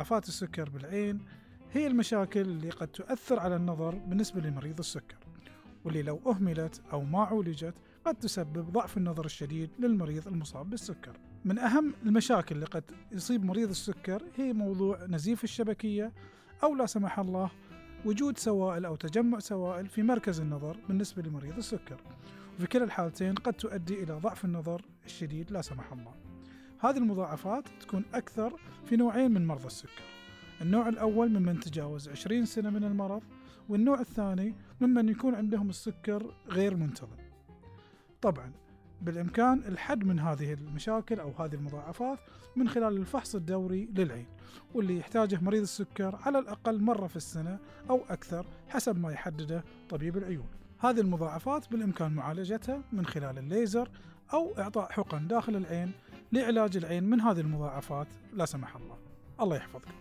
مضاعفات السكر بالعين هي المشاكل اللي قد تؤثر على النظر بالنسبة لمريض السكر، واللي لو أهملت أو ما عولجت قد تسبب ضعف النظر الشديد للمريض المصاب بالسكر. من أهم المشاكل اللي قد يصيب مريض السكر هي موضوع نزيف الشبكية، أو لا سمح الله وجود سوائل أو تجمع سوائل في مركز النظر بالنسبة لمريض السكر، وفي كلا الحالتين قد تؤدي إلى ضعف النظر الشديد لا سمح الله. هذه المضاعفات تكون أكثر في نوعين من مرضى السكر، النوع الأول ممن تجاوز 20 سنة من المرض، والنوع الثاني ممن يكون عندهم السكر غير منتظم. طبعا بالإمكان الحد من هذه المشاكل أو هذه المضاعفات من خلال الفحص الدوري للعين، واللي يحتاجه مريض السكر على الأقل مرة في السنة أو أكثر حسب ما يحدده طبيب العيون. هذه المضاعفات بالإمكان معالجتها من خلال الليزر أو إعطاء حقن داخل العين لعلاج العين من هذه المضاعفات لا سمح الله. الله يحفظكم.